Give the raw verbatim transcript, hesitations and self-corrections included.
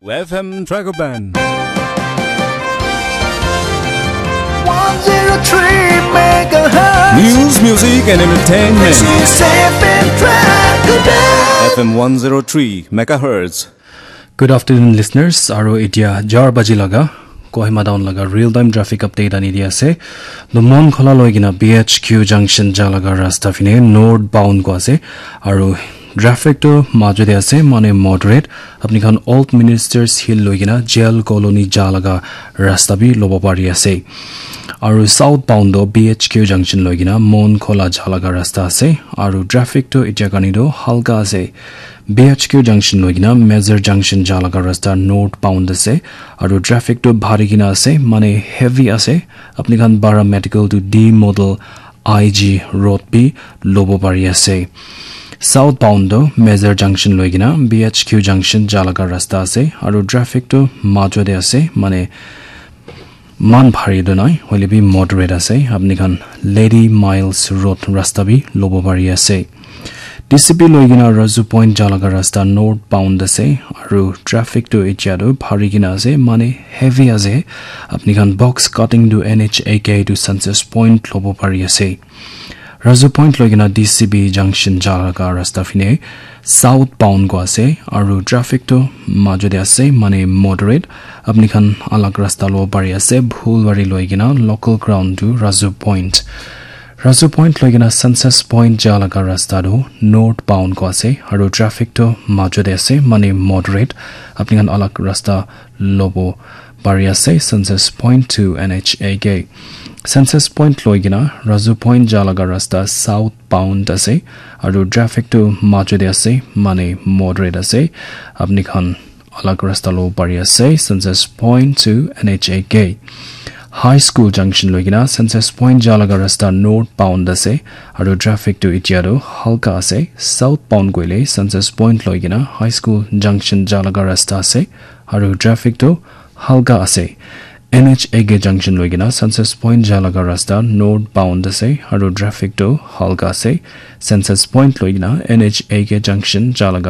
F M Dragon Band. one zero three megahertz. News, music, and entertainment. This is F M Dragon Band. F M one zero three megahertz. Good afternoon, listeners. Aro etia jar baji laga Kohima town laga real time traffic update ani di ase. Numon khola loi kina B H Q junction ja laga rasta fine north bound ko ase. Aro traffic to majo de ase, mane moderate. Apni khan Old Ministers Hill loi kina jail colony ja laga rasta bi lobo pari ase. Aro south bound to B H Q junction loi kina Mon khola ja laga rasta ase. Aro traffic to etia kani to halka ase. B H Q junction loi kina Major junction ja laga rasta north bound ase. Aro traffic to bhari kina ase, mane heavy ase. Apni khan Bara Medical to D Model I G road bi lobo pari ase. South bound to Major junction loi kina B H Q junction ja laga rasta ase. Aro traffic to majo de ase, mane man bhari do nai, hoile bi moderate ase. Apni khan Lady Miles Road rasta bi lobo pari ase. D C P loi kina Razu Point ja laga rasta north bound ase. Aro traffic to etia to bhari kina ase, mane heavy ase. Apni khan box cutting to N H A K to Census Point lobo pari ase. Razu Point loi kina D C B junction ja laga rasta fine south bound ko ase. Aro traffic to majo de ase, mane moderate. Apni khan alag rasta lobo pari ase, Bhulwari loi kina local ground to Razu Point. Razu Point loi kina Census Point ja laga rasta to north bound ko ase. Aro traffic to majo de ase, mane moderate. Apni khan alag rasta lobo pari ase, Census Point to N H A K. Census Point loi kina Razu Point ja laga rasta south bound ase. Aro traffic to majo de ase, mane moderate ase. Apni khan alag rasta lobo pari ase, Census Point to N H A K. High School junction loi kina Census Point ja laga rasta north bound ase. Aro traffic to etia to halka ase. South bound koile Census Point loi kina High School junction ja laga rasta ase. Aro traffic to halka ase. N H A K junction loi kina Census Point ja laga rasta north bound ase. Aro traffic to halka ase. Census Point loi kina N H A K junction ja laga